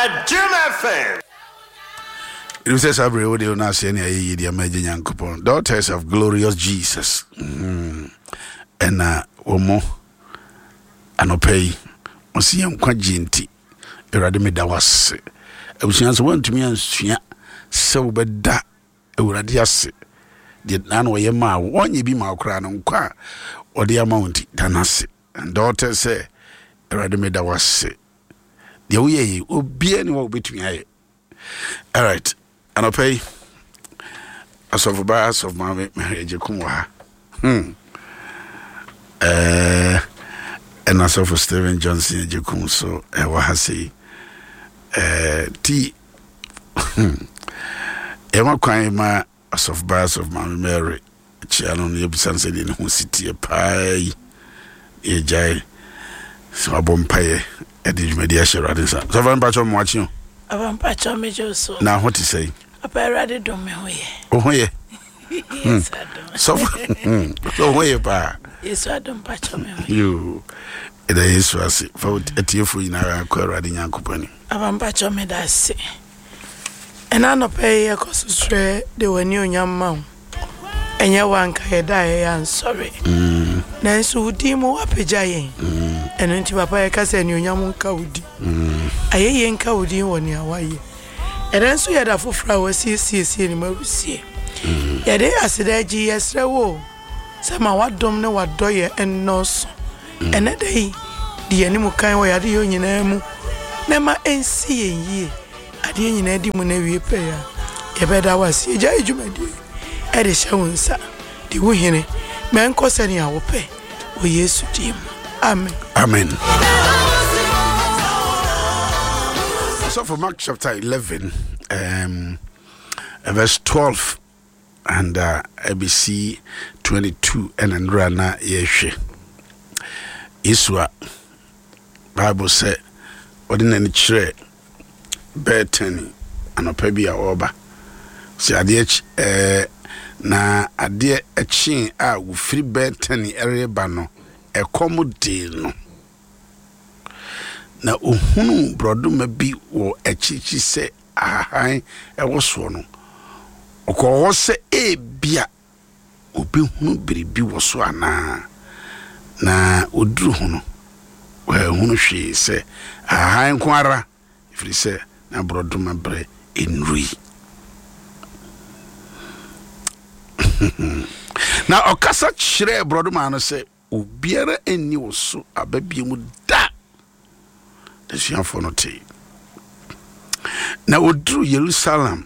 Adom FM. Ɛnim sɛ saa berɛ wode wo no aseɛ ne ayɛyie de ama agya Nyankopɔn. Daughters of Glorious Jesus. Ɛna wɔ mo anɔpa yi, ɔsi yɛn nkwagye nti, Awurade meda wo ase. Abusua sɛ woantumi ansua sɛ wobɛda Awurade ase deɛ na na ɔyɛ maa wo, ɔnyɛ bi maa wo koraa no, nkwa a ɔde ama wo nti, da no ase. And daughters sɛ, Awurade meda wo ase. Deɛ woyɛ yi, obiara ni hɔ a wobɛtumi ayɛ. Alright, anɔpa yi, asɔfo baa asɔfo maame Mary Agyekum wɔ ha. Ɛna asɔfo Stephen Johnson Agyekum so ɛwɔ ha sei. Ti, yɛma kwan ma Asɔfo baa Asɔfo Maame Mary kyea no na yɛbisa no sɛdeɛ ne ho si teɛ paa yi na yɛgyae sɛ wabɔ mpaeɛ ɛde dwumadi ahyɛ Awurade nsa. Sɔfo mpakyɛ mo akye o. Aba mpakyɛ megye wo so. Na ho te sɛn? Papa Awurade dom me ho yɛ. Wo ho yɛ? Yesu adom. Sɔfo so ho yɛ paa. Yesu adom mpakyɛ me ho yɛ. Yoo. Ɛda Yesu ase. Fa atiefoɔ nyinaa kɔ Awurade Nyankopɔn anim. Aba mpakyɛ meda ase. Ɛnnɛ anɔpa yi yɛkɔ so srɛ de w'anuonyam ma wo. Ɛnyɛ wo anka yɛda a yɛyɛ ansɔre. Nanso wo din mu woapagya yɛn. Ɛno nti papa yɛka sɛ anuonyam nka wo din. Ayɛyie nka wo din wɔ nea woayɛ. Ɛnnɛ nso yɛ da foforɔ a woasiesie ne mu awusie. Yɛde aseda agyi yɛsrɛ wo o sɛ ma w'adom ne w'adɔyɛ nnɔɔso. Ɛnnɛ da yi, di yɛn anim kan wɔ yɛn adeyɔ nyinaa mu, na ma ɛnsi yɛn yie. Adeɛ nyinaa di mu na awie pɛyɛ a, yɛbɛda wo ase. Yɛgyae dwumadie yi de hyɛ wo nsa. Di wo hene. Ma ɛnkɔ sɛnea wopɛ. Wɔ Yesu din mu. Amen. Amen. So for Mark chapter 11, verse 12 and ɛbɛsi 22 ɛna nnora na yɛhwɛ Yesu a Bible sɛ ɔde n'ani kyerɛ Bethany anɔpa bi a ɔreba sɛ adeɛ ɛɛ na adeɛ kyee a wɔfiri Bethany reba no ɛkɔm dee no. Na ɔhunuu borɔdoma bi wɔ akyirikyiri sɛ ahahan wɔ soɔ no, ɔkɔɔ hɔ sɛ ebia ɔbɛhunu biribi wɔ so anaa. Na ɔduruu ho no, wanhunu hwee sɛ ahahan nko ara, ɛfiri sɛ na borɔdoma berɛ nnurui. Na ɔkasa kyerɛɛ borɔdoma no sɛ, Obiara nni wo so aba bio mu da. N'asuafoɔ no tee. Na wɔduruu Yerusalem,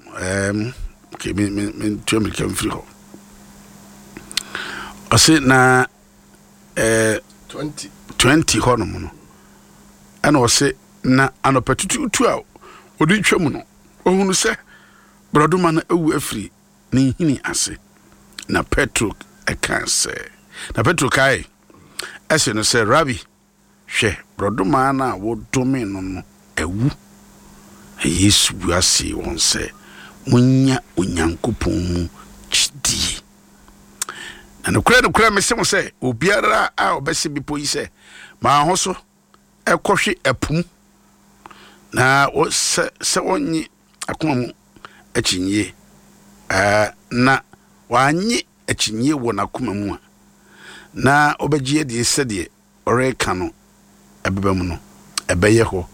okay, me, me, mentua mmirika mfiri hɔ. Ɔse na 20 hɔ nom no, ɛna ɔse na anɔpa tutuutu a wɔde twa mu no, ɔhunu sɛ borɔdoma no awu afiri ne nhini ase. Na Petro kaa sɛ, na Petro kae se no sɛ, Rabi, hwɛ, borɔdɔmaa no a wodome no no awu. Na Yesu bua see wɔn sɛ, Monnya Onyankopɔn mu gyidie. Na nokorɛ nokorɛ mese mo sɛ, obiara a ɔbɛse bepɔ yi sɛ, Ma wo ho so kɔhwe ɛpo mu, na sɛ sɛ ɔnnye akoma mu akyinnye, ɛɛ, na wannye akyinnye wɔ n'akoma mu a, na ɔbɛgye adie sɛdeɛ ɔreka no ɛbɛba mu no, ɛbɛyɛ hɔ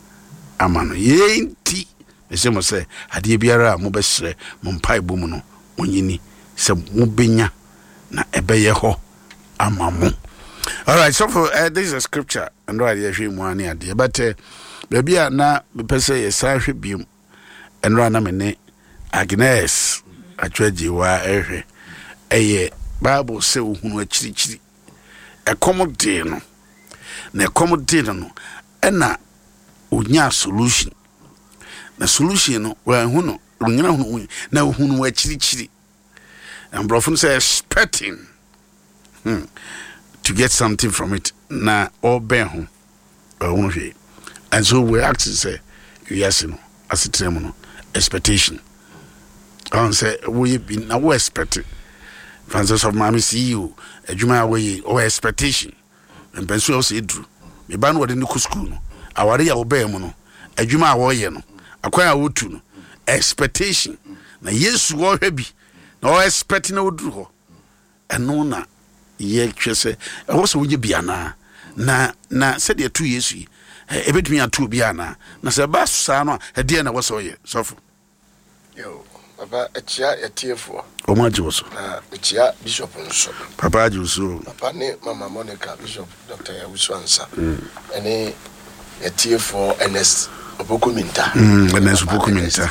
ama no. Yei nti, mese mo sɛ, adeɛ biara a mobɛsrɛ mo mpaebɔ mu no, monnye nni sɛ mobɛnya, na ɛbɛyɛ hɔ ama mo. Alright, so for, this is a scripture, ɛnora adeɛ hwɛ mu ne adeɛ, but baabi a na mepɛ sɛ yɛsan hwɛ biom, ɛnora na me ne Agnes Atwagyewa ɛhwɛ, ɛyɛ Bible sɛ ohunu akyirikyiri, ɛkɔm dee no, na ɛkɔm dee no no, ɛna onyaa solution, na solution no, wanhu no, onyina hunu, na ohunu akyirikyiri. Na mborɔfo no sɛ expecting to get something from it na ɔbɛn ho ɔhunu hwee. And so we asking sɛ wiase no asetena mu no expectation ɔn sɛ woyɛ bi na wo expect fan sɛ sɔfo maame CEO adwuma a wɔyɛ ɔwɔ expectation mpɛnso a ɔsɛ eduru me ba no wɔde no kɔ sukuu no aware a wɔbɛn mu no adwuma a wɔyɛ no. Akwan a wotu no, expectation. Na Yesu ɔhwɛ bi na ɔ expect na ɔduru hɔ. Ɛno na yɛhwɛ sɛ ɛwɔ sɛ wogye bi anaa. Na na sɛdeɛ ɛto Yesu yi, ɛbɛtumi ato obi anaa. Na sɛ ɛba saa no a, ɛdeɛn na ɛwɔ sɛ ɔyɛ sɔfo? Yo, papa ɛkyia yɛtiefoɔ. Wɔn agye wo so. Na mekyia bishop nso. Papa agye wo so. Papa ne mama Monica, Bishop Dr. Yawusu Ansa. Ɛne yɛtiefoɔ Ernest Opoku Minta. Ernest Opoku Minta.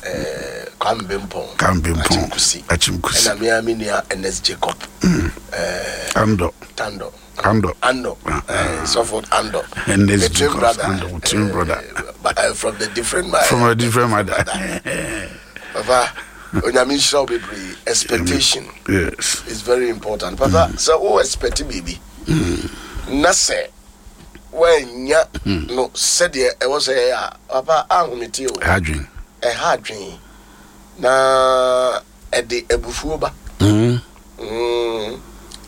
Eh, Kwame Bempong. Kwame Bempong. Achimkusi. Achimkusi. Ɛna me ara me nua Ernest Jacob. Eh, Ando. Tando. Ando. Ando. Sɔfo Ando. Ernest The twin brother. Ando, twin brother. But from the different mother. From a different mother. Papa, Onyame nhyira wo bebree. Expectation. Yes. Is very important. Papa, sɛ wo expect biribi. Na sɛ woannya no sɛdeɛ ɛwɔ sɛ ɛyɛ a, papa ahomete o. Ɛha adwene. Ɛha adwene. Na ɛde abufuo ba.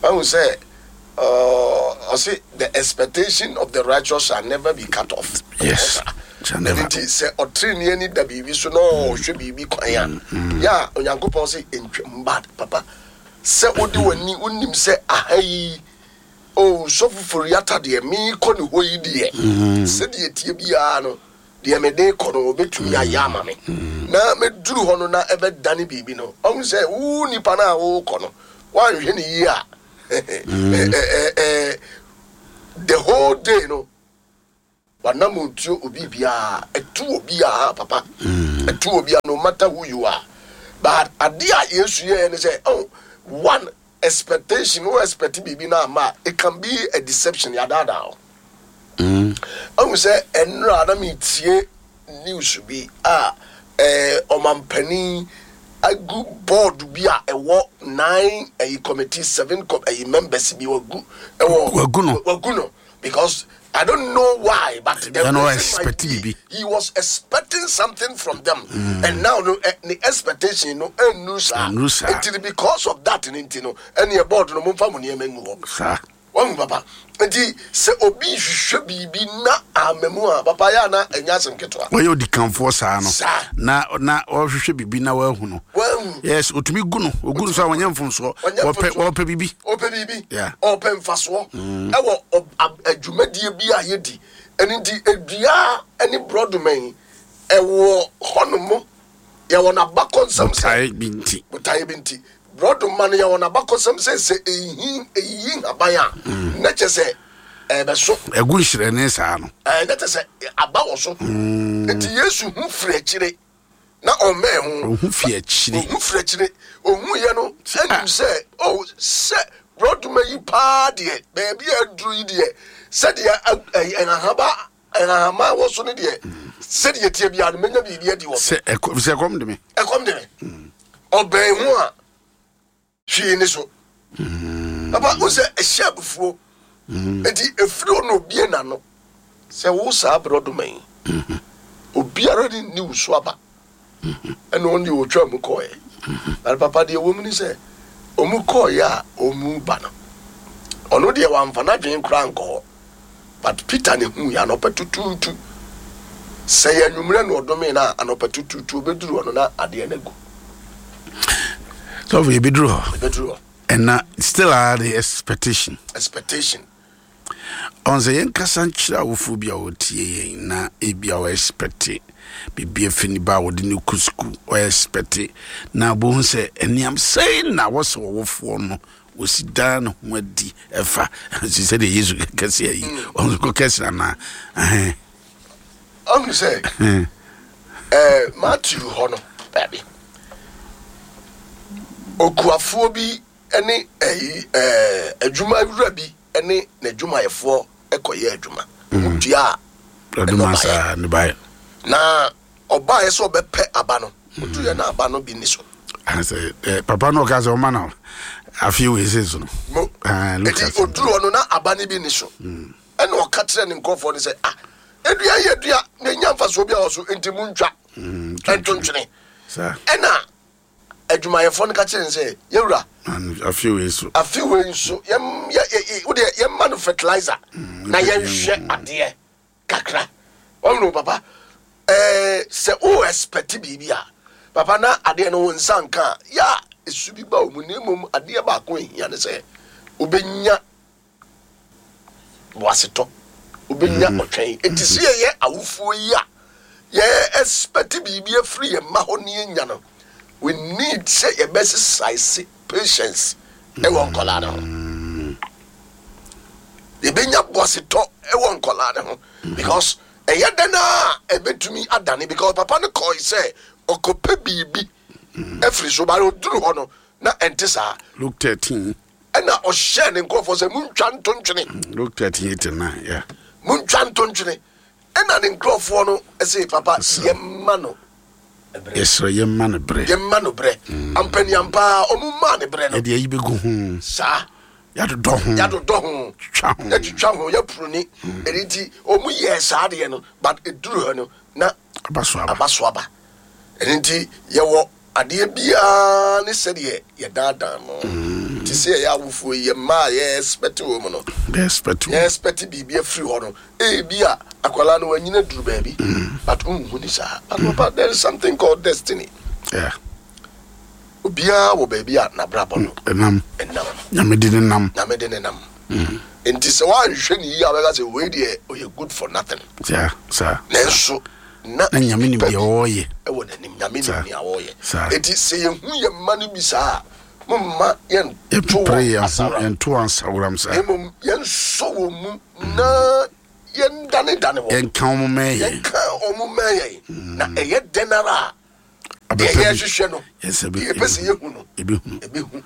Wahu sɛ ɔse the expectation of the righteous shall never be cut off. Yes. Shall never. Nti sɛ ɔtreneeni ani da biribi so na ɔhwɛ biribi kwan a, yɛ a Onyankopɔn se ntwam bad papa. Sɛ wode w'ani wonim sɛ aha yi oh sɔfo Foriata deɛ meekɔ ne hɔ yi deɛ sɛdeɛ ɛteɛ biara no deɛ mede rekɔ no ɔbɛtumi ayɛ ama me na mɛduru hɔ no na ɛbɛdane biribi no ɔhu sɛ wo nipa no a worekɔ no woanhwɛ ne yie a the whole day no wanam ntuo obi biara ɛtu obiara papa ɛtu obiara no matter who you are but adeɛ a Yesu yɛɛ ne sɛ oh one expectation wo expect biribi na ama it can be a deception yɛadaadaa wo Ahu sɛ ɛnora na metie news bi a ɛɛ ɔmampanin agu board bi a ɛwɔ nine ɛyi committee seven com ɛyi members bi wagu ɛwɔ wagu no wagu no because I don't know why but the reason might be he was expecting something from them mm. and now no eh, the expectation no ɛnnu saa nti because of that ne nti no ɛne board no mo nfa mo nneɛma ngu hɔ saa. Wahu papa? Enti sɛ obi rehwehwɛ biribi na amma mu a, papa yɛ a na ɛnyɛ asɛm ketewa. Wɔyɛ odikanfoɔ saa no. Saa. Na na ɔrehwehwɛ biribi na wahu no. Wahu. Yes, otumi gu no. Ogu no so a wɔnyɛ mfomsoɔ. Ɔnyɛ Wɔpɛ mfomsoɔ. wɔpɛ biribi. Ɔpɛ biribi. Yeah. Ɔpɛ mfasoɔ ɛwɔ ɔ ab adwumadie bi a yɛdi. Ɛno nti dua ne borɔdoma yi ɛwɔ hɔnom. Yɛwɔ n'abakɔsɛm sɛ. Botaeɛ bi nti. Botaeɛ bi nti. Borɔdoma no, yɛwɔ n'abakɔsɛm sɛ sɛ ɛyi ɛyiyi nhaban a, mm. na kyɛ sɛ ɛbɛso. Ɛgu nhyerɛne saa no. Ɛɛ na kyɛ sɛ aba wɔ so. Mm. Nti Yesu hu firi akyire na ɔmmɛn ho. Ɔhu firi akyire. Ɔhu firi akyire. Ɔhu yɛ no ɛnim sɛ oh sɛ borɔdoma yi paa deɛ baabi a aduru yi deɛ sɛdeɛ ɛhahaba Nhahama a ɛwɔ so no deɛ, sɛdeɛ ɛteɛ biara no, mɛnya biribi adi wɔ so. Sɛ ɛkɔm sɛ ɛkɔm de me. Ɛkɔm de me. Ɔbɛn ho a, hwee ne so. Papa, wo sɛ ɛhyɛ abufuo. Enti efiri hɔ na obie n'ano sɛ wo saa borɔdoma yi, obiara ne nni wo so aba. Ɛna ɔno deɛ ɔtwaa mu kɔɔɛ. Na papa deɛ ɛwɔ mu ne sɛ, ɔmu kɔɔɛ a ɔmu ba no, ɔno deɛ wamfa n'adwene koraa ankɔ hɔ. But Peter ne hui anɔpa tutuutu. Sɛ yɛ anwummerɛ na ɔdomee no a, anɔpa tutuutu ɔbɛduru hɔ no na adeɛ no agu. Sɔfo yɛbɛduru hɔ. Yɛbɛduru hɔ. Ɛna still are the expectation. Expectation. Ɔn sɛ yɛnkasa nkyerɛ awofoɔ bi a wɔtie yɛn na ebi a wɔexpecte biribi afi ne ba a wɔde no kɔ sukuu ɔexpecte na bohu sɛ ɛneam sɛn na wɔsɛ ɔwofoɔ no Wɔsi daa ne ho adi ɛfa si sɛdeɛ Yesu kɛse ayi ɔno kɔ kɛse anaa ɛhɛn. Ɔhu sɛ ɛɛ Matthew hɔ no baabi okuafoɔ bi ne ɛyi ɛɛ adwuma wura bi ne n'adwumayɛfoɔ kɔyɛ adwuma. Wɔn dua nnɔbaeɛ. Na ɔbaeɛ sɛ ɔbɛpɛ aba no, ɔduiɛ na aba no bi nni so. Sɛ eh, papa no ɔka sɛ ɔma no afei wei se so no. Mo, ah, eti oduru hɔ no na aba no bi nni so. Mm. Ɛna ɔka kyerɛ ne nkurɔfoɔ no sɛ, ah, edua yɛ dua na enya mfasoɔ bi a wɔ so, nti muntwa. Mm, Ɛntontwene. Ɛna adwumayɛfoɔ no ka kyerɛ no sɛ, Yɛwura, afe wei so, afe wei nso, yɛm, yɛ, yɛ, wodeɛ yɛmma no fertilizer mm, na yɛnhwɛ adeɛ kakra. Wɔn no papa. Ɛɛ sɛ wo expect biribi a, papa na adeɛ no wo nsa nka a, yɛ a esu bi ba wo mu na mmom adeɛ baako a ehia ne sɛ wobɛnya boasetɔ, wobɛnya mm. ɔtwɛn. Enti sɛ yɛyɛ awofoɔ yi a yɛ expect biribi afiri yɛn mma hɔ ne yɛnya no, we need sɛ yɛbɛsesaese patience ɛwɔ nkɔlaa no ho. Mm. Yɛbɛnya boasetɔ ɛwɔ nkɔlaa no ho because Ɛyɛ dɛn ara a ɛbɛtumi adane because papa no kɔe sɛ ɔkɔpɛ biribi afiri so but ɔduru hɔ no na ɛnte saa. Luke 13. Ɛna ɔhyɛɛ ne nkurɔfoɔ sɛ montwa nto ntwene. Luke 13 8 and 9, yeah. Montwa nto ntwene. Ɛna ne nkurɔfoɔ no se papa yɛmma no berɛ. Yɛsrɛ yɛmma no berɛ. Yɛmma no berɛ. Ampaniampaa ɔmo maa no berɛ no. Yɛde ayi bɛgu ho. Saa. Yɛadodɔ ho. Yɛadodɔ ho. Twitwa ho. Yɛtwitwa ho, yɛpuruni. Ɛno nti, wɔn yɛɛ saa adeɛ no, but ɛduru hɔ no, na aba so aba. Aba so aba. Ɛno nti, yɛwɔ adeɛ biara ne sɛdeɛ yɛdaadaa no. Mm. Nti sɛ yɛyɛ awofoɔ yi, yɛ mma a yɛ expect wɔ mu no. Yɛ expect wɔ. Yɛ expect biribi afiri hɔ no. Ebi a akwadaa no wanyina duru baabi, mm. but wonhu ne saa. But mm. papa, there is something called destiny. Yeah. Obiara wɔ baabi a n'abrabɔ no Ɛnam. ɛnam. Nyame de ne nam. Nyame de ne nam. Nti sɛ woanhwɛ ne yie a wobɛka sɛ wei deɛ ɔyɛ good for nothing. Saa, saa. Nanso na Na Nyame nim biribi pa deɛ bi ɔreyɛ. ɛwɔ n'anim. Nyame nim Saa, nea ɔreyɛ. saa. Enti sɛ yɛhu yɛn mma no bi saa a, momma yɛnto Yɛmpere wɔn yɛn ho, asaworam. yɛnto wɔn asaworam saa. Na mmom yɛnsɔ wɔn mu na yɛndanedane wɔn. Yɛnka wɔn mmɛn yɛn. Yɛnka wɔn mmɛn yɛn. Na ɛyɛ dɛn ara a, deɛ yɛhwehwɛ no deɛ yɛpɛ sɛ yɛhu no ɛbɛhu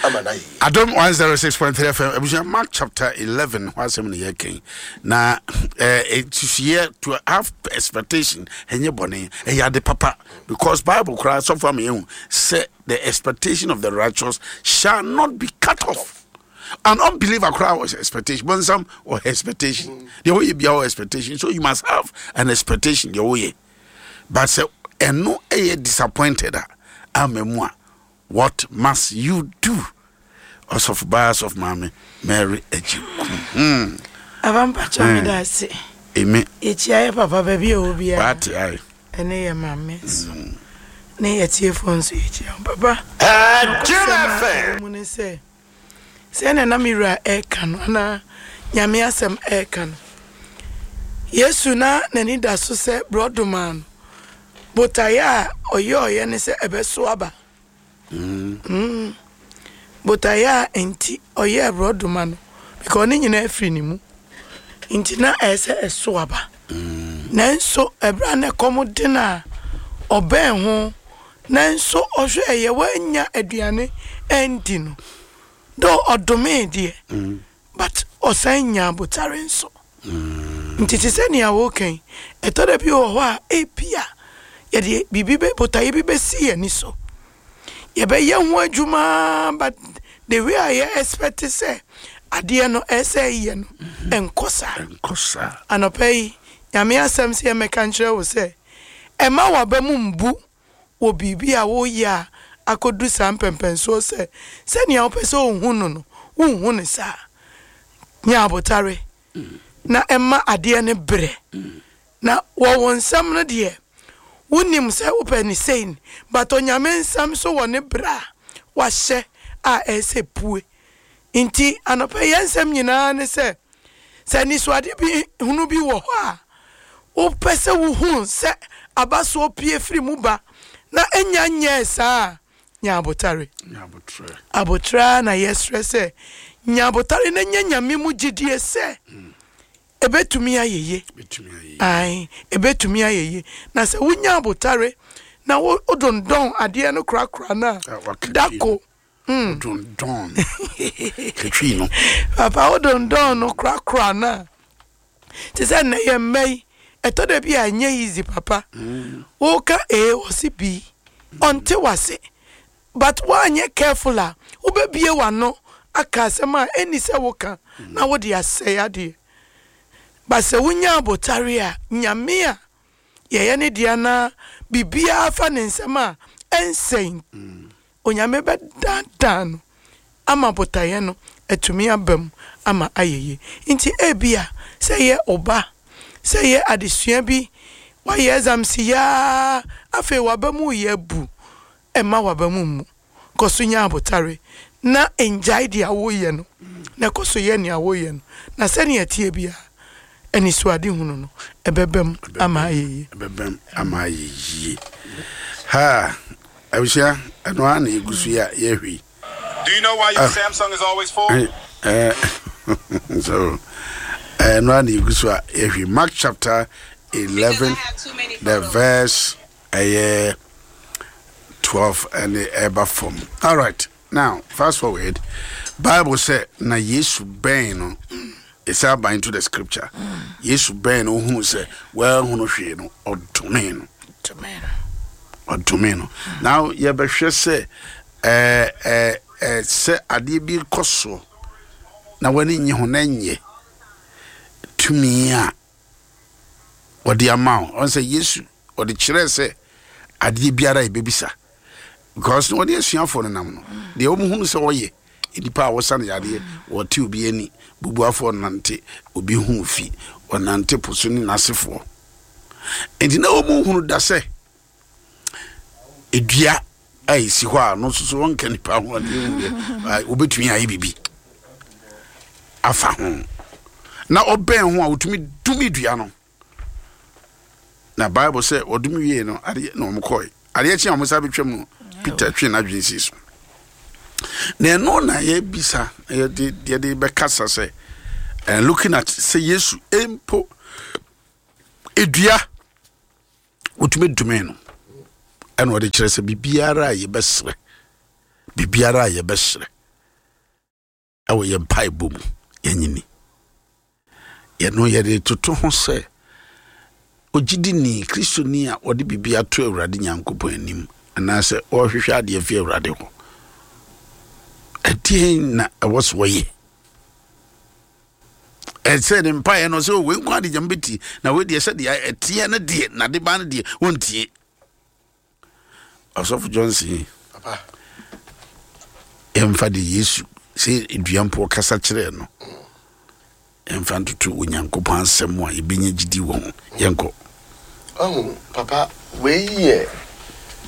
ama no ayɛ Adom 106.3 FM abusua Mark chapter 11 ho asɛm na yɛkɛn na ɛsusuiɛ to have expectation ɛnyɛ bɔne ɛyɛ ade papa because Bible koraa sɔfo ama yɛhu sɛ the expectation of the righteous shall not be cut off an unbeliever koraa was expectation bonsam or expectation deɛ woyɛ bia wɔ expectation so you must have an expectation deɛ woyɛ But sɛ ɛno yɛ disappointed a ama mu a, what must you do? Ɔsɔfo baa Sɔfo Maame Mary Agyekum. Hmm. Aba mpakyɛ me da ase. Eme. Yɛkyia yɛ papa baabi a ɛwɔ biara. Wate ae. Ɛne yɛ maame nso. Mm. Ne yɛ tiefoɔ nso yɛkyia wɔn. Papa. Nokwasɛm a ɛwɔ mu ne sɛ. Sɛnea na me wura reka no, anaa Nyame asɛm reka no, Yesu na n'ani da so sɛ borɔdoma no, botaeɛ a ɔyɔeɛ ne sɛ ɛbɛso aba. Mm. Botaeɛ a nti ɔyɛɛ borɔdoma no, because ne nyinaa firi ne mu. Nti na ɛyɛ sɛ ɛso aba. Nanso ɛberɛ a na ɛkɔm de no a, ɔbɛn ho Nanso ɔhwɛeɛ wannya aduane andi no, though ɔdomee deɛ, but ɔsan nyaa abotare nso. Nti te sɛ nea woreka yi, ɛtɔ da bi wɔ hɔ a ebia yɛde biribi bɛ botaeɛ bi bɛsi yɛn ani so. Yɛbɛyɛ ho adwuma but the way a yɛ expect sɛ adeɛ no ɛsɛ sɛ ɛyɛ no, ɛnkɔ saa. Ɛnkɔ saa. Anɔpa yi, Nyame asɛm sɛ yɛmmɛka nkyerɛ wo sɛ, Mma w'aba mu mmu wɔ biribi a woreyɛ a akɔdu saa mpɛnpɛnsoɔ sɛ sɛnea wopɛ sɛ wohu no no, wonhu no saa. Nya abotare na mma adeɛ no berɛ. Na wɔ wo nsɛm no deɛ, wonim sɛ wopɛ no sei, but Onyame nsɛm nso wɔ ne berɛ a wahyɛ a ɛyɛ sɛ ɛpue. Nti anɔpa yi yɛn nsɛm nyinaa ne sɛ, Sɛ anisoade bi hunu bi wɔ hɔ a wopɛ sɛ wuhu sɛ abasoɔ pue firi mu ba na ennya nyɛɛ saa a, nya abotare. Aboterɛ ara na yɛsrɛ sɛ nya abotare na nya Nyame mu gyidie sɛ ɛbɛtumi ayɛ yie. Ae, ɛbɛtumi ayɛ yie. Na sɛ wonya abotare na wodondɔn adeɛ no korakora no a, dako Wodondɔn no. Katwi no. Papa wodondɔn no korakora no a, te sɛ nnɛ yɛn mma yi, ɛtɔ da bi a ɛnyɛ easy papa. Woka A ɔse B, ɔnte w'ase. But woanyɛ careful a, wobɛbue w'ano aka asɛm a ɛnni sɛ woka na wode asɛe adeɛ. But sɛ wonya abotare a, Nyame a yɛyɛ ne dea na biribiara fa ne nsam a, ɛnsɛe. Onyame bɛdaadaa no ama botaeɛ no atumi aba mu ama ayɛ yie. Nti ebia sɛ ɛyɛ wo ba, sɛ ɛyɛ adesua bi, Woayɛ exams yi ara, afei w'aba mu reyɛ abu. Mma w'aba mu mmu. Kɔ so nya abotare, na nnyae deɛ woreyɛ no, na kɔ so yɛ nea woreyɛ no, na sɛnea ɛteɛ biara, anisoadehunu no, ɛbɛbam ama ayɛ yie. Ɛbɛbam ama ayɛ yie. Ha, abusua, ɛno ara na yɛgu so yi a yɛhwɛ yi. Do you know why your ah. Samsung is always full? Eh, so, ɛno ara na yɛgu so a yɛhwɛ Mark chapter 11, the verse ɛyɛ 12 ɛne ɛba fam. All right, now fast forward. Bible sɛ na Yesu bɛn no. Ɛsɛ aba into the scripture. Yesu bɛn no ohunu sɛ wɔahunu hwee no ɔdome no. Ɔdome no. Now yɛbɛhwɛ sɛ ɛɛ ɛɛ sɛ adeɛ bi kɔ so na w'ani nye ho na nyɛ tumi a ɔde ama wo. Ɔn sɛ Yesu ɔde kyerɛɛ sɛ adeɛ biara a yɛbɛbisa because na ɔne asuafoɔ no nam no deɛ wɔn hunu sɛ ɔyɛ nnipa a wɔsa no yadeɛ wɔte obi ani bubuafoɔ nante obi ho fi ɔnante po so ne n'asefoɔ nti na wɔn hunu da sɛ edua a esi hɔ a no nso so wɔnka nipa ho adeɛ hu deɛ wɔbɛtumi ayɛ biribi afa ho na ɔbɛn ho a wɔtumi dumi dua no Na Bible sɛ wɔdom wiee no, adeɛ na wɔn kɔe. Adeɛ kye a wɔn san bɛtwam no, Peter twe n'adwene sii so. Na ɛno na yɛbisa, yɛde yɛde bɛkasa sɛ, and looking at sɛ Yesu mpo edua wotumi dome no, ɛna ɔde kyerɛ sɛ biribiara a yɛbɛsrɛ, biribiara a yɛbɛsrɛ. wɔ yɛn mpaebɔ mu yɛnyini yɛno yɛde toto ho sɛ ogyidini kristoni a ɔde biribi ato awurade nyankopɔn anim anaasɛ ɔrehwehwɛ adeɛ fi awurade hɔ ɛdeɛn na ɛwɔ so wɔyɛ ɛsɛ ne mpaeɛ no sɛ wei nko ade gyam bɛtie na wei deɛ sɛdeɛ ɛteɛ no deɛ nade ba no deɛ wɔntie Ɔsɔfo Johnson yɛmfa de Yesu sɛ dua mpo ɔkasa kyerɛɛ no yɛmfa ntoto Onyankopɔn asɛm a yɛbɛnya gyidi wɔ ho yɛnkɔ. Ɔhu papa wei yɛ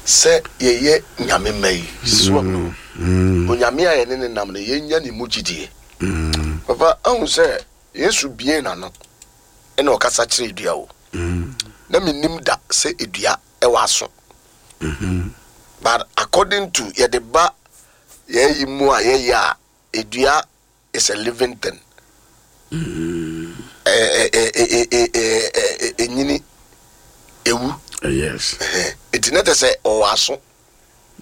sɛ yɛyɛ nyame mma yi soa mu mm. Onyame a yɛne ne nam no yɛnya ne mu gyidie mm. Papa ahu sɛ Yesu bie n'ano ɛna ɔkasa kyerɛ dua o mm. Na menim da sɛ dua ɛwɔ aso but according to yɛde ba yɛyi mu a yɛyɛ a edua is a living thing enyini ewu yes eti na kyerɛ sɛ ɔwɔ aso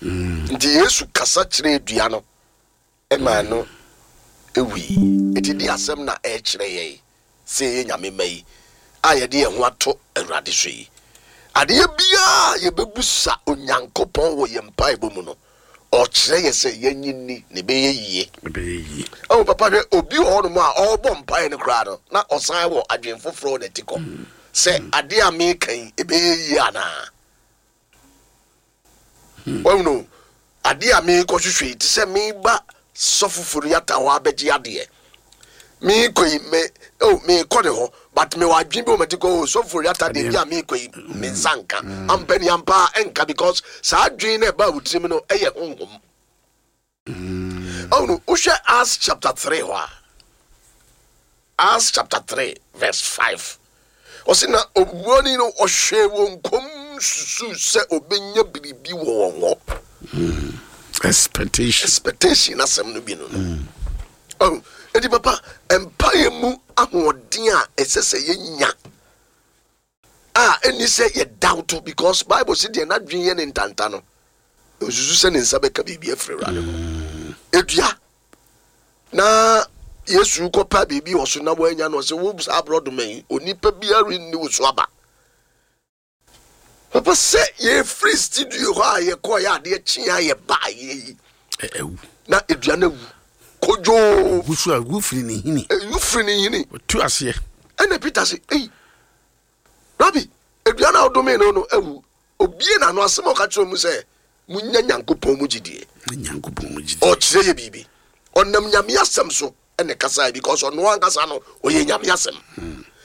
nti Yesu kasa kyerɛ edua no maa no wui. Enti deɛ asɛm na ɛrekyerɛ yɛn sɛ yɛyɛ Nyame mma yi a yɛde yɛn ho ato Awurade so yi? Adeɛ biara a yɛbɛbusa Onyankopɔn wɔ yɛn mpaebɔ mu no, ɔkyerɛ yɛ sɛ yɛnye nni na ɛbɛyɛ yie. Ɛbɛyɛ yie. Oh, papa hwɛ, obi wɔ hɔnom a ɔrebɔ mpaeɛ no koraa no, na ɔsan wɔ adwene foforɔ wɔ n'atikɔ sɛ adeɛ a meka yi, ɛbɛyɛ yie anaa? Wahunu adeɛ a merekɔhwehwɛ yi te sɛ meba sɔfo Foriata hɔ abɛgye adeɛ. Merekɔ yi me oh merekɔ ne hɔ but mewɔ adwene bi wɔ m'ati kɔ oh sɔfo Foriata deɛ bi a merekɔ yi me nsa nka. Ampa ni ampa a ɛnka because saa adwene no ɛbaa wo tirim no ɛyɛ honhom. Ɔno wohwɛ Acts chapter 3 hɔ a Acts chapter 3 verse 5 ɔsi na obuoni no ɔhwɛ wɔn kɔm susu sɛ ɔbɛnya biribi wɔ wɔn hɔ. Expectation. Expectation asɛm no bi no no. Mm. Enti papa mpaeɛ mu ahoɔden a ɛsɛ sɛ yɛnya a ɛnni sɛ yɛ doubt because bible si deɛ n'adwene yɛ ne ntanta no nsusu sɛ ne nsa bɛka biribi afiri awurade hɔ mm. edua na yesu kɔpa biribi wɔ so na wɔanya no ɔsɛ wo saa aborɔdoma yi onipa biara nni wo so aba papa sɛ yɛfiri studio hɔ a yɛkɔɔ yɛ adeɛ kye a yɛbaa yɛ yi na edua no awu kodwoo wusu a wufiri ne hini wufiri ne hini tu aseɛ ɛna peter sɛ ei Rabi, aduan a wodomee no no awu. Obie n'ano asɛm a ɔka kyerɛ mu sɛ, munya Nyankopɔn mu gyidie. Nyankopɔn mu gyidie. Ɔkyerɛ yɛ biribi. Ɔnam Nyame asɛm so ɛna ɛkasae because ɔno ankasa no ɔyɛ Nyame asɛm.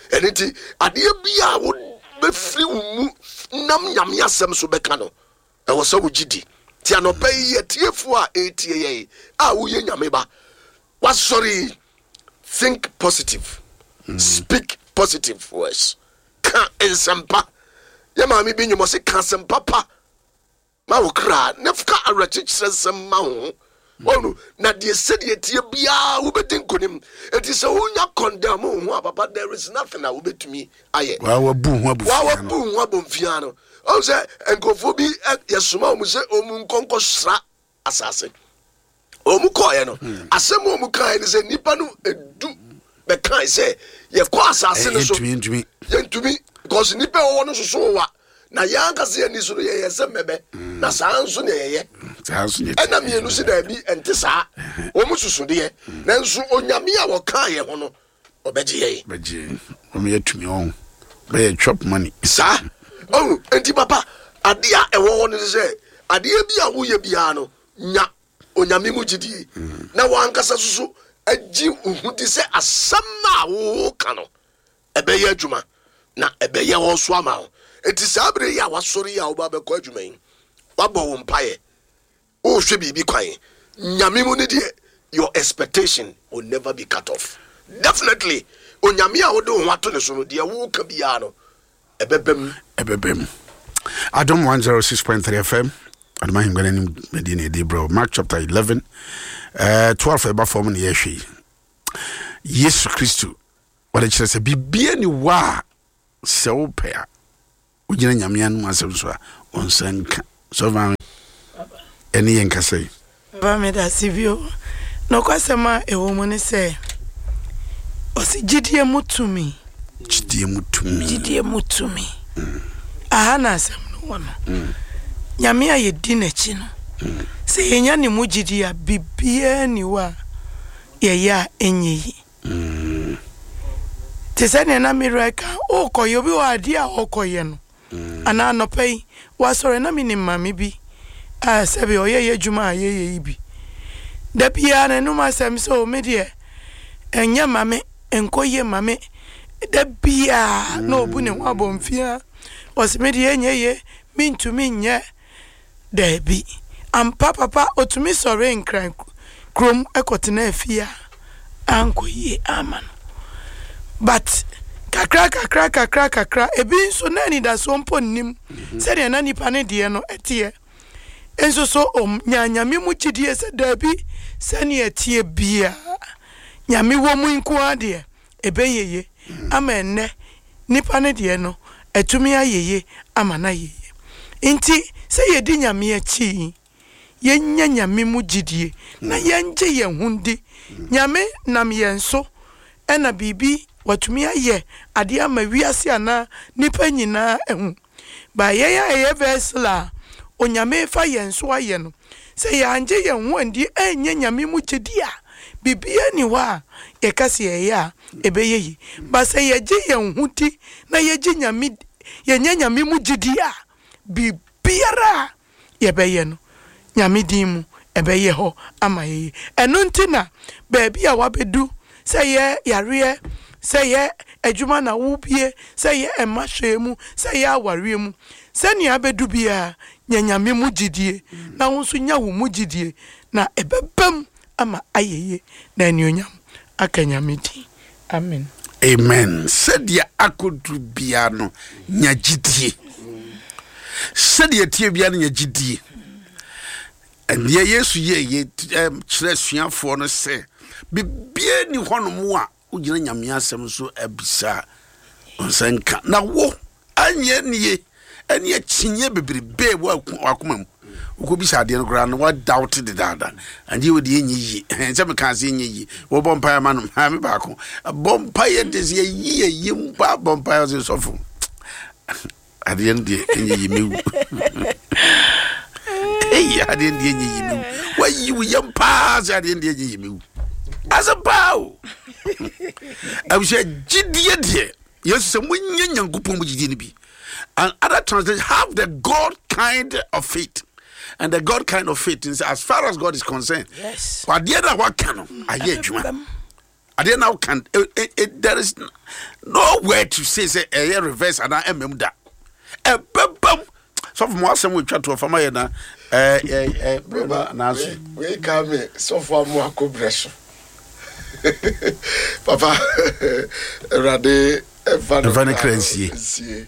Ɛno nti adeɛ bi a wobɛfiri wo mu wonam Nyame asɛm so bɛka no, ɛwɔ sɛ wogye di. Nti anɔpa yi, atiefoɔ a ɛretie yɛn a woyɛ Nyame ba, wasɔre yi, think positive, speak positive words, ka nsɛmpa. Yɛ maame bi nnwom ɔse ka asɛmpa pa ma wo kra na ka awerɛkyekyerɛ nsɛm ma wo ho. Wɔnu na deɛ sɛdeɛ tie biara wobɛdi nkonim. Enti sɛ wonya condemn wo ho a papa there is nothing a wobɛtumi ayɛ. Waa wabu ho abofia no. Waa wabu ho abomfia no. Ɔhu sɛ nkurɔfoɔ bi yɛsoma wɔn sɛ wɔn nkɔ nkɔsra asase. Wɔn kɔɔeɛ no, asɛm a wɔn kaeɛ ne sɛ nnipa no edu bɛkae sɛ yɛkɔ asase no so yɛntumi because nnipa a wɔwɔ no soso wa na yɛn ankasa yɛn ani so no yɛyɛ sɛ mmɛbɛ na saa nso na yɛyɛ. Ɛna mmienu si daabi ɛnte saa wɔn susu deɛ nanso Onyame a wɔkaa yɛn ho no ɔbɛgye yɛn. Bɛgye wɔn yɛ tumi wɔn bɛyɛ chop money. Saa ɔhu nti papa adeɛ a ɛwɔ hɔ no sɛ adeɛ bi a woyɛ biara no nya Onyame mu gyidie na wankasa soso agye wo ho di sɛ asɛm no a woka no ɛbɛyɛ adwuma na ɛbɛyɛ hɔ so ama wo. Nti saa berɛ yi a wasɔre yi a woba bɛkɔ adwuma yi, wabɔ wo mpaeɛ, wohwɛ biribi kwan, Nyame mu no deɛ your expectation will never be cut off. Definitely, Onyame a wode wo ho ato ne so no, deɛ woka biara no ɛbɛba mu. Ɛbɛba mu. Adom 106.3 FM Adom ahengua no anim dwumadie na ɛde brɛ Mark chapter 11 12 ɛba fam na yɛhwɛ yi. Yesu Kristo wɔde kyerɛ sɛ biribiara ni wɔ a sɛ wopɛ a wogyina Nyame anom asɛm so a wo nsa nka. Sɔfo maame ɛne yɛn kasa yi. Papa medase bio. Nokwasɛm a ɛwɔ mu ne sɛ, ɔse gyidie mu tumi. Gyidie mu tumi. Gyidie mu tumi. Aha na asɛm no wɔ no. Nyame a yɛdi n'akyi no, sɛ yɛnya ne mu gyidie a, biribiara nni hɔ a yɛyɛ a ɛnyɛ yie. Te sɛ nea na me werɛ ka, wokɔyɛ, obi wɔ hɔ a adeɛ a ɔkɔyɛ no, Anaa anɔpa yi, wasɔre na menim maame bi a sɛbe ɔyɛ yɛ adwuma a yɛyɛ yi bi. Da biara n'anom asɛm sɛ o me deɛ ɛnyɛ mma me, ɛnkɔ yie mma me. Da biara na ɔbu ne ho abɔnfia. Ɔse me deɛ ɛnyɛ yie, mentumi nyɛ. Daabi. Ampa papa otumi sɔree Nkran kurom kɔtenaa fie a ankɔ yie amma no. But kakra kakra kakra kakra ebi nso na anidasoɔ mpo nnim sɛdeɛ na nipa no deɛ no teɛ. Nso so ɔnyaa Nyame mu gyidie sɛ daabi sɛdeɛ ɛteɛ biara Nyame wɔ mu nko ara deɛ ɛbɛyɛ ye ama ɛnnɛ nipa no deɛ no atumi ayɛ ye ama no ayɛ ye. Nti sɛ yɛdi Nyame akyi yi, yɛnya Nyame mu gyidie na yɛngye yɛn ho ndi. Nyame nam yɛn so na biribi watumi ayɛ adeɛ ama wiase anaa nipa nyinaa ahu. But yɛn a yɛyɛ vessel a Onyame refa yɛn so ayɛ no, sɛ yɛangye yɛn ho andi annya Nyame mu gyedi a, biribiara nni hɔ a yɛka sɛ yɛyɛ a ɛbɛyɛ yie. But sɛ yɛgye yɛn ho di na yɛgye Nyame, yɛnya Nyame mu gyedi a, biribiara a yɛbɛyɛ no, Nyame din mu, ɛbɛyɛ hɔ ama yɛn. Ɛno nti na baabi a wabɛdu, sɛ ɛyɛ yareɛ, sɛ ɛyɛ adwuma na wobie, sɛ ɛyɛ mma hwɛɛ mu, sɛ ɛyɛ awareɛ mu, sɛnea abɛdu biara, nya Nyame mu gyidie, na wo nso nya wo mu gyidie, na ɛbɛba mu ama ayɛ yie, na anuonyam aka Nyame din. Amen. Amen. Sɛdeɛ akɔduru biara no, nya gyidie. Sɛdeɛ ɛteɛ biara no, nya gyidie. Ɛdeɛ Yesu yɛ yɛ kyerɛ asuafoɔ no sɛ biribiara ni hɔnom a wogyina Nyame asɛm so abisa a ɔnsa nka. Na wo anyɛ nie ɛne akyinnyeɛ bebrebe wɔ wakoma mu wokɔbisa adeɛ no koraa no wadawte dedaada adeɛ wɔ deɛ ɛnyɛ yie sɛ mekaa sɛ ɛnyɛ yie wɔbɔ mpaeɛ ma no maame baako bɔ mpaeɛ de sɛ yɛyi yɛyi mpa bɔ mpaeɛ sɛ sɔfo adeɛ no deɛ ɛnyɛ yie mewu ɛyi adeɛ no deɛ ɛnyɛ yie mewu wayi wo yam paa sɛ adeɛ no deɛ ɛnyɛ yie mewu asɛm paa o abusua gyidie deɛ Yesu sɛ monyɛ Nyankopɔn mu gyidie no bi. And other translation have the God kind of faith. And the God kind of faith is as far as God is concerned. Yes. Adeɛ na waka no ayɛ adwuma. Adeɛ na waka there is nowhere to say sɛ ɛyɛ reverse anaa ɛmam da. Ɛbɛbam. Sɔfo mo asɛm wɔtwa toɔ fama yɛ na ɛɛ ɛɛ berɛ no anaaso. Wei ka me sɔfo amoako berɛ so. Papa Awurade ɛfa ne kra nsie. Nsie.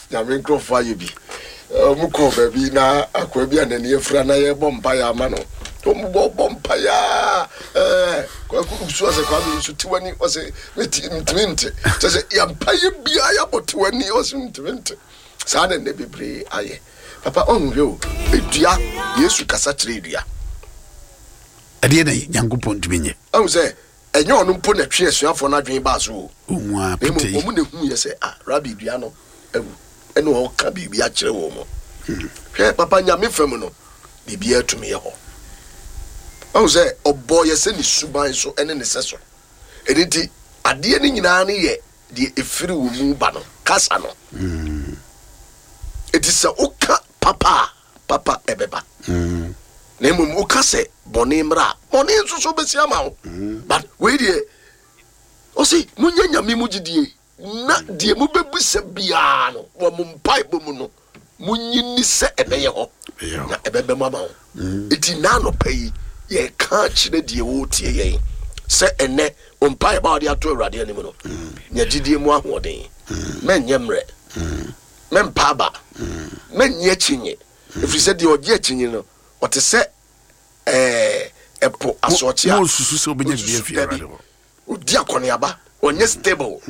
Nyame nkurɔfoɔ ayɛ bi. Wɔn kɔɔ baabi na akoa bi a n'ani afira na yɛbɔ mpaeɛ ama no. Wɔn bɔ bɔ mpaeɛ a ɛɛ kwaku nsu ɔsɛ kwame nsu te w'ani ɔsɛ meti ntumi nte. Kyɛ sɛ yɛ mpaeɛ biara yɛabɔ te w'ani ɔsɛ ntumi nte. Saa na nnɛ bebree ayɛ. Papa ɔnhwɛ o edua Yesu kasa kyerɛ edua. Ɛdeɛ na Nyankopɔn ntumi nyɛ. Ahu sɛ ɛnyɛ ɔno mpo na ɛtwee asuafoɔ no adwene baa so o, Ohun ara na mmom Peter yi. wɔn na ɛhuiɛ sɛ, Ah, Rabi, dua no awu. Ɛnna ɔreka biribi akyerɛ wɔn. Hwɛ, papa, Nyame fam no, biribiara tumi yɛ hɔ. Wahu sɛ ɔbɔɔ yɛ sɛ ne suban so ne ne sɛso. Ɛno nti, adeɛ no nyinaa no yɛ deɛ ɛfiri wo mu ba no, kasa no. Enti sɛ woka papa a, papa ɛbɛba. Na mmom woka sɛ bɔne mmra a, bɔne nso so bɛsi ama wo. But wei deɛ, ɔse monyɛ Nyame mu gyidie na deɛ mobɛbisa biara no wɔ mo mpaebɔ mu no, monyi nni sɛ ɛbɛyɛ hɔ na ɛbɛba mu ama wo. Enti nnɛ anɔpa yi, yɛreka akyerɛ deɛ ɔretie yɛn sɛ ɛnnɛ wo mpaebɔ a wode ato Awurade anim no, nya gyidie mu ahoɔden, mɛnyɛ mmerɛ. Mɛmpa aba, mɛnnye akyinnye, ɛfiri sɛ deɛ ɔgye akyinnye no, ɔte sɛ ɛɛ ɛpo asorɔkye a. Monsusu sɛ wobɛnya biribi afiri Awurade hɔ. Ɔdi akɔneaba, ɔnyɛ stable,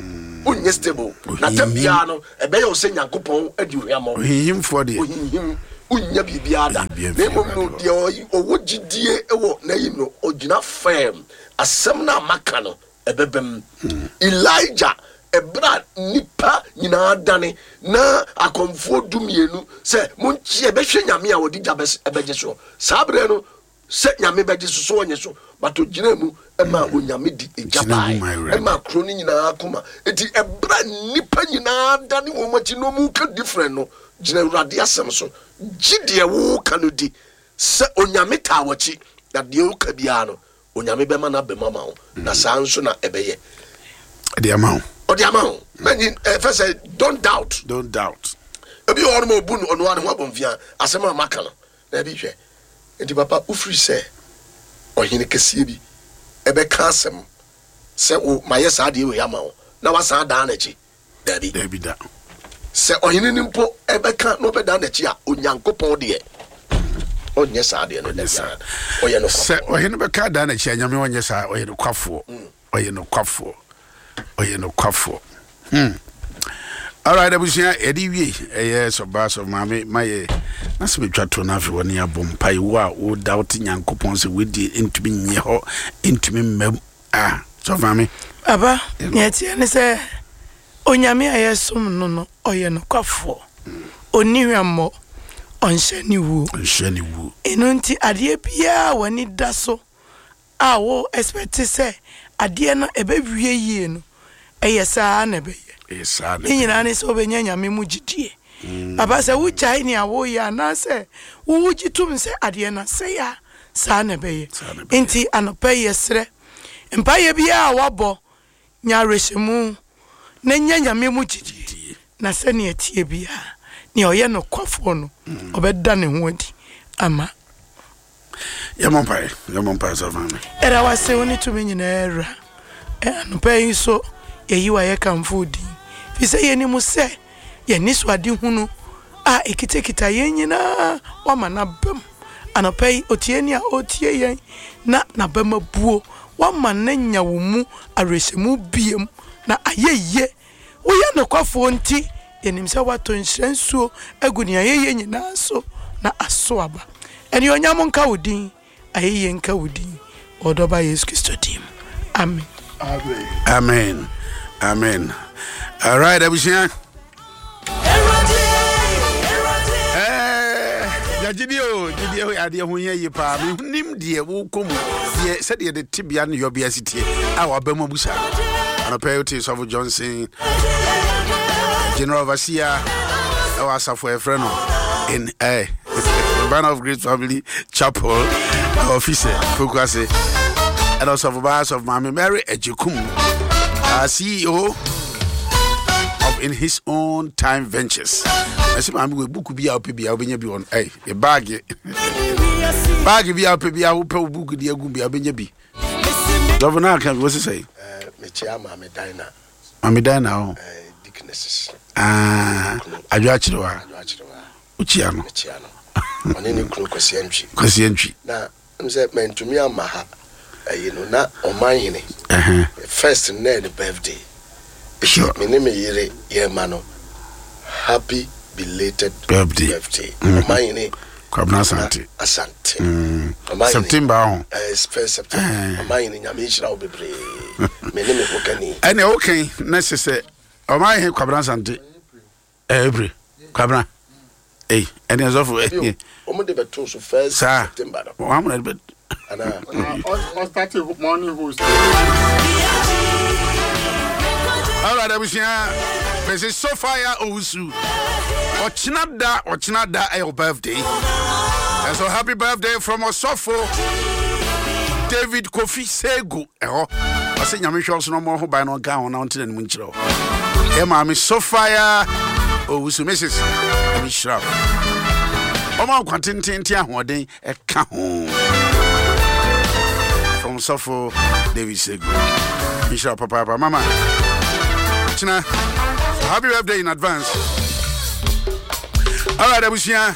ɔnyɛ stable. Na tam biara no, ɛbɛyɛ wo sɛ Nyankopɔn adi hwammɔ. Ohinhimfoɔ deɛ. Ohinhim, wonnya biribiara da. Na mmom no, deɛ ɔwɔ gyidie wɔ n'ayim no, ɔgyina firm. Asɛm no a maka no, ɛbɛba mu. Elijah, ɛberɛ a nnipa nyinaa dane na akɔmfoɔ dumienu sɛ monkye yɛbɛhwɛ Nyame a ɔde gya bɛgye soɔ. Saa berɛ no sɛ Nyame bɛgye so so ɔnye so, but ɔgyinaa mu maa Onyame de egya baeɛ ɛmaa kuro no nyinaa koma. Enti ɛberɛ a nnipa nyinaa dane wɔn akyi na wɔreka different no, gyina Awurade asɛm so, gye deɛ woreka no di sɛ Onyame taa w'akyi na deɛ woka biara no Onyame bɛma no aba mu ama wo, na saa nso na ɛbɛyɛ. Ɔde ama wo. Ɔde ama wo. Mɛnyi ɛfɛ sɛ don't doubt. Don't doubt. Ebi wɔ hɔ nom a obu no ɔno ara ne ho abɔnfia asɛm a maka no. Daabi hwɛ. Nti papa wofiri sɛ ɔhene kɛseɛ bi ɛbɛka asɛm sɛ wo mayɛ saa adeɛ wei ama wo na wasan adan n'akyi. Dabi. Dabi da. Sɛ ɔhene no mpo bɛka na ɔbɛdan n'akyi a, Onyankopɔn deɛ, ɔnyɛ saa deɛ no da biara. Ɔyɛ nokwafoɔ. Sɛ ɔhene bɛka adan n'akyi a, Nyame ɔnyɛ saa. Ɔyɛ nokwafoɔ. Ɔyɛ nokwafoɔ. Ɔyɛ nokwafoɔ. Hmm. Alright, abusua, yɛde wie. Ɛyɛ sɔba sɔ maame ma yɛ na sɛ metwa to no afei wɔne abɔ mpae. Wo a wo doubt Nyankopɔn sɛ wei ntumi nyɛ hɔ, ntumi mmam. Ah, sɔfo maame. Papa, nea ɛteɛ ne sɛ, Onyame a yɛsom no no, ɔyɛ nokwafoɔ. Ɔnni hwammɔ, ɔnhyɛ ne wuo. Ɔnhyɛ ne wuo. Ɛno nti, adeɛ biara a w'ani da so a wo expect sɛ adeɛ no ɛbɛwie yie no, ɛyɛ saa ara na ɛbɛyɛ. Ɛyɛ saa na Ne nyinaa ne sɛ wobɛnya Nyame mu gyidie. Papa, sɛ wogyae nea woreyɛ anaasɛ wogye tom sɛ adeɛ no asɛe a, saa na ɛbɛyɛ. Enti anɔpa yi yɛsrɛ, mpaeɛ biara a woabɔ, nya awerɛhyɛmu na nya Nyame mu gyidie, na sɛnea ɛteɛ biara, nea ɔyɛ nokwafoɔ no, ɔbɛda ne ho adi ama. Yɛmmɔ mpaeɛ, yɛmmɔ mpaeɛ sɔfo maame. Yɛda wo ase, wo ne tumi nyinaa Wura. Anɔpa yi nso, yɛyi wo ayɛ kamfo wo din, firi sɛ yɛnim sɛ yɛn anisoadehunu a ɛkitakita yɛn nyinaa woama no aba mu. Anɔpa yi, otieni a ɔretie yɛn na n'abam abuo, woama no anya wo mu awerɛhyɛmu biom na ayɛ yie. Woyɛ nokwafoɔ nti, yɛnim sɛ woatɔ nhyira nsuo agu nea yɛyɛ nyinaa so na aso aba. Anuonyam nka wo din. Ayɛyie nka wo din wɔ ɔdɔ ba Yesu Kristo din mu. Amen. Amen. Amen. All right, abusua. Gyidie o gyidie o adeɛ ho hia yie paa menim deɛ wokɔ mu deɛ sɛdeɛ de tebea ne yɔbea si teɛ a waba mu abu saa anɔpɛ wote sɔfo Johnson General Overseer ɛwɔ asafo a yɛfrɛ no in eh, Banner of Grace Family Chapel office Pokuase ɛna ɔsɔfo baa sɔfo maame Mary Agyekum uh, CEO of In His Own Time Ventures. Ɛsɛ maame wɔ buku bi a wopɛ bi a wobɛnya bi wɔ ɛy yɛ baage baage bi a wopɛ bi a wopɛ wo buku de agu bi a wobɛnya bi. Dɔfo no aka bi wɔ sisɛ yi. Mekyia maame Dina. Maame Dina o. Deaconesses. Ah, adwo akyerɛ wa. Adwo akyerɛ wa. Wokyia no. Mekyia no. Ɔne ne kunu Kwasi Antwi. Kwasi Antwi. Na m sɛ mantumi amma ha ayi no na ɔman hene first no na ɛyɛ ne birthday Sure. me ne me yere yɛma no happy belated Birthday. birthday ɔman hene Kwabena Asante. Asante ɔman hene September ho. First September ɔman hene Nyame nhyira wo bebree me ne me ho kani. Ɛnna wokan na sɛ sɛ ɔman hene Kwabena Asante April Kwabena ei ɛne ɛsɔfo Bio, wɔn de bɛto so first saa September no. wɔn amuna de bɛ Anaa Ɔstarte morning host. Alright, abusua mese Sophia Owusu ɔkyena da ɔkyena da ɛyɛ wo birthday and so happy birthday from ɔsɔfo David Kofi Sego ɛhɔ ɔsɛ Nyame hwɛ ɔso na ɔmmɔ ho ban na ɔnka ho na ɔnte n'anim nkyerɛ wo ɛ maame Sophia Owusu Mrs. Nyame hyira wo ɔma nkwa tententen ahoɔden ɛka ho from sɔfo David Sego nhyira wo papaapa mama kyena so happy birthday in advance. Alright, abusua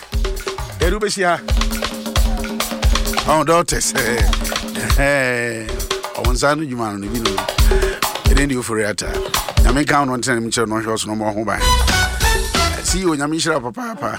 yɛde wobɛsi ha ɔn doctors ɔwo nsa no dwuma no no bi no ɛdɛn deɛ wofori ata Nyame nka wo no ntena nim kyerɛ no ɔhwɛ ɔso no ɔmmɔ ho ban. CEO, Nyame nhyira wo papaapa.